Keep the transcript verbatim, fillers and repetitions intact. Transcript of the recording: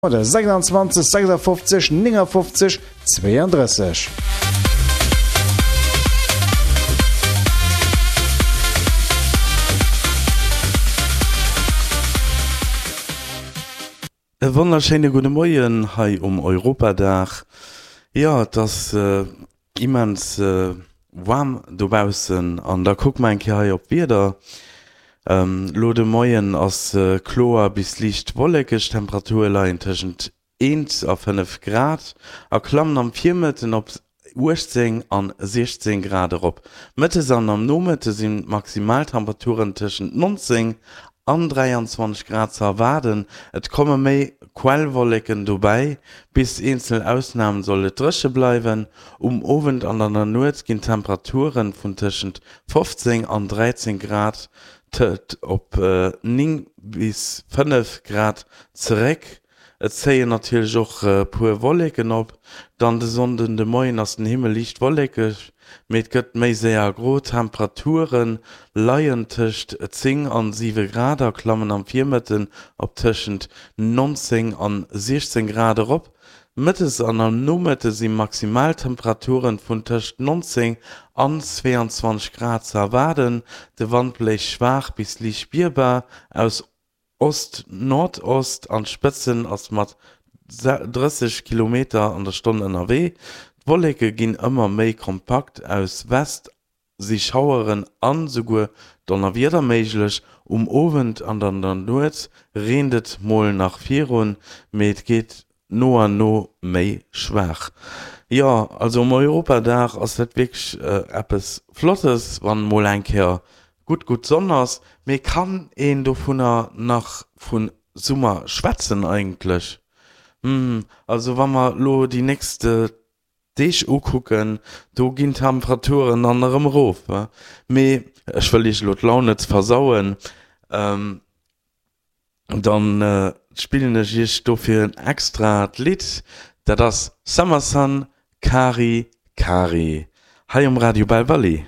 Oder sechsundzwanzeg sechsundfünfzig neunundfünfzig zweiunddreißig. E wonnerschéine gudde Moien hei um Europadag. Jo, et ass immens waarm dobaussen an da kucke mer eng Kéier hei op d'Wieder. Elo de Moien ass kloer bis liicht wollekeg, d'Temperature leien tëschent eent a fënnef Grad a klammen am Virmëtten op uechtzéng an siechzéng Grad erop. Mëttes an am Nomëtte sinn d'Maximaltemperaturen tëschent nonzéng an dräianzwanzeg Grad ze erwaarden. Et komme méi Quellwolleken dobäi, bis eenzel Ausnamen soll et dréche bleiwen. Um Owend an an der Nuet ginn d'Temperature vun tëschent fofzéng an dräizéng Grad op néng bis fënnef Grad zeréck. Et zéien natierlech och e puer Wolleken op. Dann de Sonnden de Moien ass den Himmel liicht wollekeg, mee et gëtt méi séier gro. D'Temperature leien tëscht zéng an siwe Grad a klammen am Virmëtten op tëschent nonzéng an siechzéng Grad erop. Mëttes an am Nomëtte si Maximaltemperaturen vun tëscht nonzéng an zweeanzwanzeg Grad ze erwaarden. De Wand bléist schwaach bis liicht spierbar aus Ost-Nordost, an d'Spëtzen ass mat drësseg Kilometer an der Stonn ënnerwee. D'Wolleke ginn ëmmer méi kompakt, aus West si Schaueren an esouguer Donnerwieder méiglech. Um Owend an an der Nuet reent et mol nach virun, mee et geet no an no méi schwaach. Jo, also um Europadag ass dat wierklech eppes Flottes, wann mol eng Kéier gutt gutt Sonn ass. Mee kann een dovunner nach vu Summer schwätzen eigentlech? Hm, also wa mer lo déi nächst Deeg ukucken, do ginn d'Temperaturen dann erëm erof. Mee ech wëll iech elo d'Laun net versauen, dann spillen ech iech dofir en extrat Lidd, dat ass Summer Sun, Kari Kari, hei um Radio Belval.